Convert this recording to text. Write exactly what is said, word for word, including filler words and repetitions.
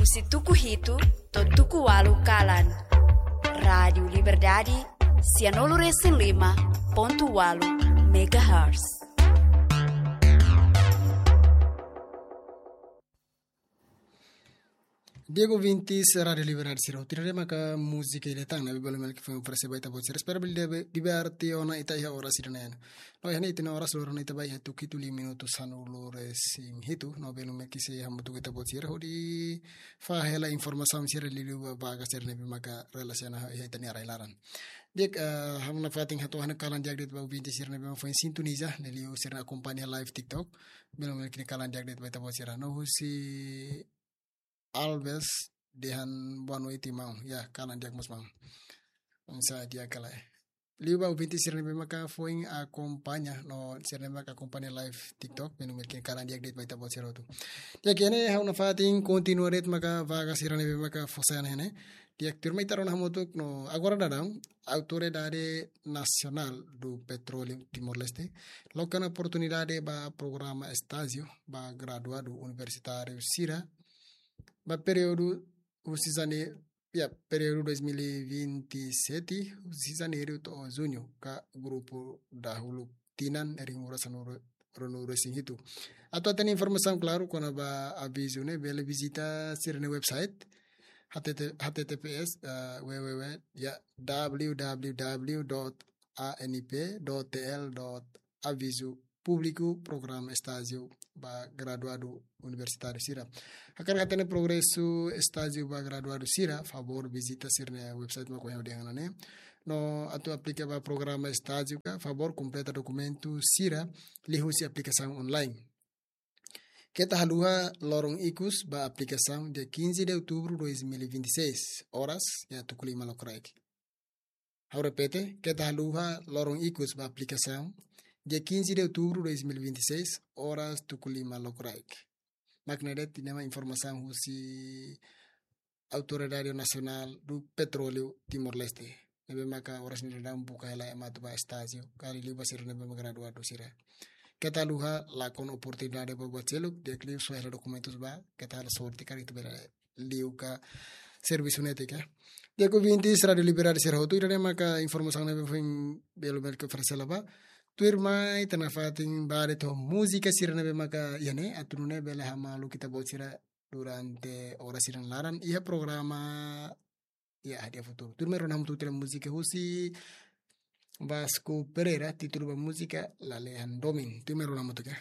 Husi tuku hitu to'o tuku ualu kalan. Rádiu Liberdade, sianulu resin lima pontu ualu megahertz. Di'ak ouvintes Rádiu Liberdade sira, ida-ne'e maka múzika ida tan ne'ebé bele mel ke foin oferese ba ita-boot sira. Espera bele diver-, diverte ona ita iha oras ida-ne'e. No, iha ne'e ita-nia oras loron ne'e ita ba iha tuku hitu liu minutu sanulu resin hitu, no bele mel ke sei hamutuk ho ita-boot sira hodi fahe hela informasaun sira liuliu ba vaga sira ne'ebé maka relasiona ho ita-nia rai-laran. Di'ak, eh, ha'u nafatin hato'o ha'u-nia kalan di'ak de'it ba ouvinte sira ne'ebé foin sintoniza, liuliu sira akompaña live TikTok. Bele mel ke kalan di'ak de'it ba ita-boot sira. No husi Alves dehan boa noite, maun. Ya, kalan di'ak mós, maun. Oinsá di'ak ka lae. Liu ba ouvinte sira ne'ebé maka foin akompaña, no sira ne'ebé maka akompaña live TikTok, bele mel ke kalan di'ak de'it ba ita-boot sira hotu. Di'ak, iha ne'e ha'u nafatin kontinua de'it maka vaga sira ne'ebé maka fó sai ona iha ne'e. Di'ak, tuirmai ita rona hamutuk no agora daudaun, Autoridade Nacional do Petróleo Timor-Leste loke ona oportunidade ba programa estájiu ba graduadu universitáriu sira ba períodu husi jane-, ya, períodu dois mil e vinte e sete, husi janeiru to'o juñu, ka grupu dahuluk tinan rihun rua sanulu, ruanulu resin hitu. Atu hatene informasaun klaru kona-ba avizu ne'e, bele vizita sira-nia website, H T T, H T T P S, eh, W W W, ya, W W W dot A N P dot T L dot avizu públiku programa estájiu ba graduadu universitáriu sira. Hakarak hatene progresu estájiu ba graduadu sira, favór vizita sira-nia website mak ohin ha'u dehan ona ne'e. No atu aplika ba programa estájiu ka, favór kompleta dokumentu sira liuhusi aplikasaun online. Keta haluha loron ikus ba aplikasaun, dia quinze de outubro dois mil e vinte e seis, oras, ya, tuku lima lokraik. Ha'u repete, keta haluha loron ikus ba aplikasaun, dia quinze de outubro dois mil e vinte e seis, oras tuku lima lokraik. Mak ne'e de'it ida-ne'e mak informasaun husi Autoridade Nacional do Petróleo Timor-Leste. Ne'ebé maka oras ne'e daudaun buka hela ema atu ba estájiu, ka liuliu ba sira ne'ebé maka graduadu sira. Keta haluha lakon oportunidade ba buat seluk, di'ak liu soe hela dokumentus ba, keta halo sorte karik ita bele liu ka servisu netik. Di'ak ouvintes Rádiu Liberdade sira hotu, ida-ne'e maka informasaun ne'ebé foin bele mel ke oferese hela ba. Tuirmai ita nafatin ba de'it ho múzika sira ne'ebé maka iha ne'e, atu nune'e bele hamaluk ita-boot sira durante oras sira-nia laran iha programa, ya, Hadi'a Futuru. Tuirmai rona hamutuk tiha múzika husi Vasco Pereira, títulu ba múzika Lalehan Domin. Tuirmai rona hamutuk, ya.